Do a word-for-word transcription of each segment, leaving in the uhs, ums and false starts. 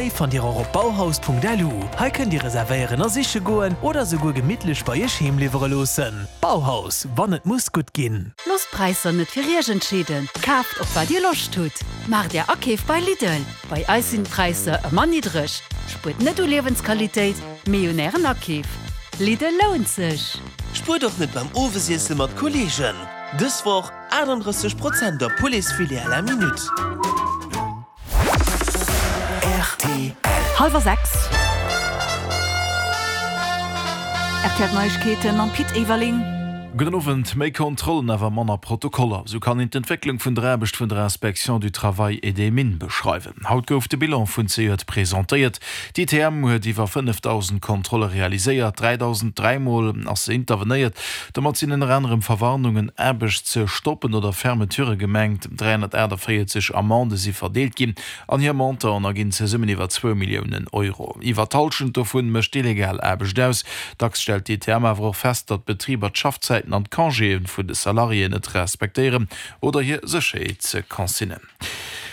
Déi fannt Dir och op bauhaus Punkt L U. Hei kënnt Dir reservéieren a siche goen oder souguer gemittlech bei Iech heem liwwere loossen. Bauhaus, wann et muss gutt ginn. Loosst d'Präisser net fir Iech entscheeden. Kaaft op wat Dir Loscht hutt. Maacht Är Akeef bei Lidl. Bei eis sinn d'Präisser ëmmer niddreg. Spuert net u Liewensqualitéit, mee un Ären Akeef. Lidl lount sech. Spuert och net beim Owesiesse mat Kolleegen. Dës Woch achtundrësseg Prozent op Pouletsfilet à la minute. R T L. Hallwer sechs. R T L Neiegkeeten mam Pit Everling. Gudden Owend. Méi Kontrollen, awer manner Protokoller. Sou kann een d'Entwécklung vun der Aarbecht vun der Inspection du Travail et des Mines beschreiwen. Haut gouf de Bilan vun zejoert presentéiert. D'I T M huet iwwer fënnefdausend Kontrolle realiséiert, dräidausend dräi Mol ass se intervenéiert. Domat sinn ënner anerem Verwarnungen, Aarbechtsstoppen oder Fermeturë gemengt. dräihonnertaachtavéierzeg Amendë si verdeelt ginn an hir Montanten erginn zesummen iwwer zwou Milliounen Euro. Iwwer d'Hallschent dovun mécht illegal Aarbecht aus. Dacks stellt d'I T M awer och fest, datt d'Betriber d'Schaffzäiten an d'Congéë vun de Salariéen net respektéieren oder hir Sécherheetsconsignen.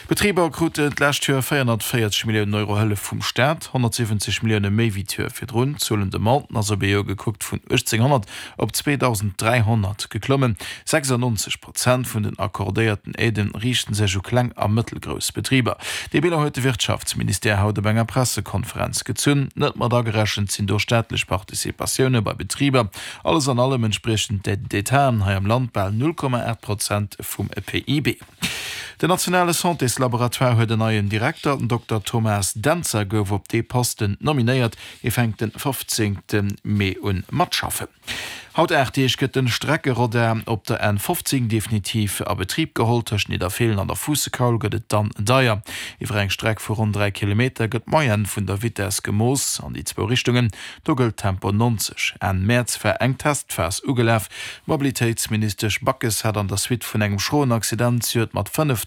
D'Betriber kruten d'lescht Joer véierhonnertvéierzeg Milliounen Euro Hëllef vum Staat, honnertsiwwenzeg Millioune méi wéi d'Joer virdrun. D'Zuel un Demanden ass op ee Joer gekuckt vun uechtzénghonnert op zweedausend dräihonnert geklommen. sechsannonzeg Prozent vun den accordéierten Aiden riichten sech u kleng a mëttelgrouss Betriber. Dee Bilan huet de Wirtschaftsministère haut op enger Pressekonferenz gezunn. Net mat agerechent sinn do staatlech Participatioune bei Betriber. Alles an allem entspriechen d'Aides d'État hei am Land bal null Komma aacht Prozent vum P I B. Den nationale Santéslaboratoire huet en neien Direkter. Den Dokter Thomas Dentzer gouf op dee Posten nominéiert. Hie fänkt de fofzéngte Mee un mat schaffen. Haut aacht Deeg gëtt den Streckeradar op der N fofzéng definitiv a Betrib geholl. Tëscht Nidderfeelen an der Fuussekaul gëtt et dann deier. Iwwer eng Streck vu ronn dräi Kilometer gëtt d'Moyenne vun der Vitess gemooss an déi zwou Richtungen. Do gëllt Tempo neunzeg. Enn Mäerz war eng Testphas ugelaf. D'Mobilitéitsministesch Backes hat an der Suite vun engem schroen Accident zejoert mat fënnef